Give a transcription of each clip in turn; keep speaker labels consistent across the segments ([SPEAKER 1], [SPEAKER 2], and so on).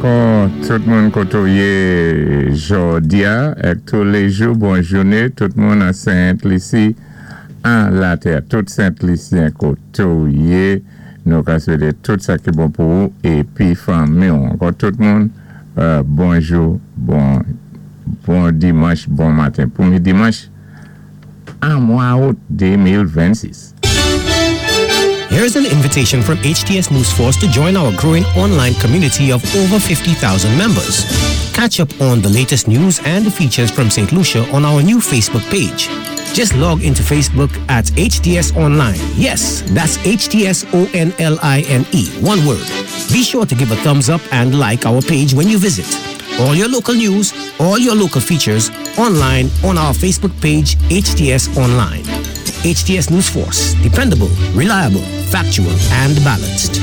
[SPEAKER 1] Ankò tout moun koté ou yé jòdi-a èk touléjou bon jouné tout moun an Sent Lisi an latè tout Sent Lisyen koté ou yé nou ka swété tout sa ki bon pou ou épi fanmi-w ankò tout moun bonjou bon bon dimanch bon maten premyé dimanch an mwa out 2026.
[SPEAKER 2] Here's an invitation from HTS News Force to join our growing online community of over 50,000 members. Catch up on the latest news and features from St. Lucia on our new Facebook page. Just log into Facebook at HTS Online. Yes, that's H T S O N L I N E, one word. Be sure to give a thumbs up and like our page when you visit. All your local news, all your local features, online on our Facebook page, HTS Online. HTS News Force, dependable, reliable, factual, and balanced.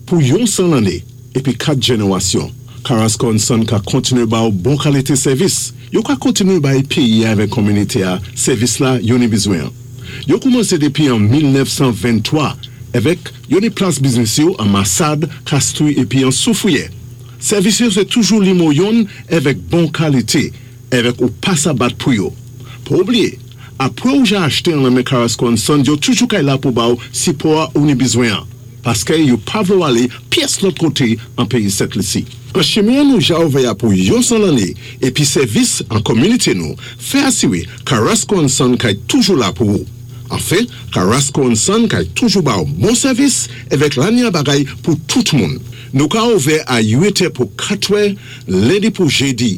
[SPEAKER 3] Pou yon 100 lanné épi 4 jènérasyon, Carrasco and Son ka kontinué ba-w bon kalité sèvis. Yo ka kontinué bay péyi-a avèk konminité-a sèvis la yo ni bizwen an. Yo koumansé dépi an 1923 èvèk yo ni plas biznis yo an Masad, Kastri épi an Soufriyè. Sèvis yo sé toujou limo yonn èvèk bon kalité èvèk ou pa sa bat pou yo. Pa oubliyé, apwé ou ja achte an lan men Carrasco and Sons yo toujou kay la pou ba-w sipò-a ou ni bizwen an, paskè yo pa vle w alé pyès lòt koté an péyi Sent Lisi. An chimen an nou ja ouvè-a pou yon 100 lanné épi sèvis an kominité nou fè asiré Carrasco and Son kay toujou la pou ou. Anfen, Carrasco and Son kay toujou ba-w bon sèvis èvèk lanya bagay pou tout moun. Nou ka ouvè a 8 è pou 4 è lendi pou jedi,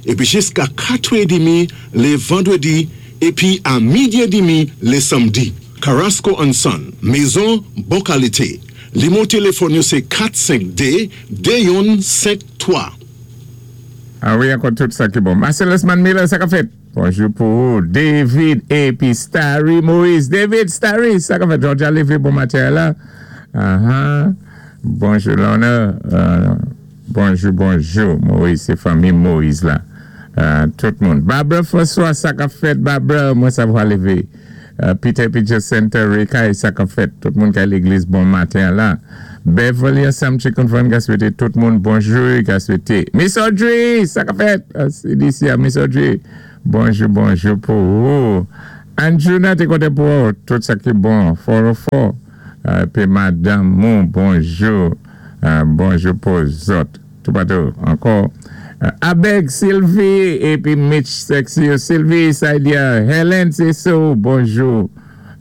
[SPEAKER 3] epi jiska 4 è edimi le vandredi, epi a midi edimi le samdi. Carrasco and Son, mezon bon kalite. Limo telefòn yo se 4 5 2 2 yonn 5 3.
[SPEAKER 1] A wi ankò tout sa ki bon. Marcellus Man Miller sa kap fèt? Bonjou pou ou David epi Starry Moïse David Starry sa kap fèt Georgia leve bon maten la ahaa Bonjou Lorna Bonjou bonjou Moïse se fanmi Moïse la tout moun Barbara François sa kap fèt Barbara mwen savwa leve Peter epi Jacintha Rekay sa kap fèt tout moun kay legliz bon maten la Beverly ansanm Chicken Van ka swete tout moun bonjou ka swete Miss Audrey sa kap fèt CDC a Miss Audrey bonjou bonjou pou ou Andjouna te konten pou ou tout sa ki bon 404 epi madanm ou bonjou bonjou pou zòt. Toupatou ankò Abeg Sylvie epi Mitch sexy yo Sylvie Saidia Helen se sou bonjou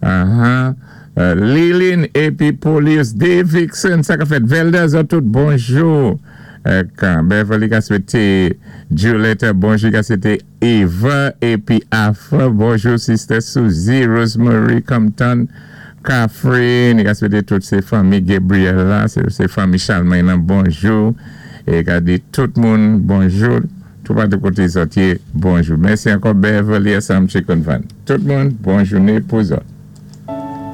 [SPEAKER 1] ahaa Liline epi Polius Davidson sa kap fèt Velda zòt tout bonjou ek Beverly ka swete Julietta bonjou ka swete Eva epi Afra bonjou sister Suzie Rosemary Compton Catherine ka swete tout se fanmi Gabriel la se fanmi Chalmay lan bonjou e ka di tout moun bonjou toupatou kote zòt ye bonjou mèsi ankò Beverly ansanm Chicken Van tout moun bon joune pou zòt.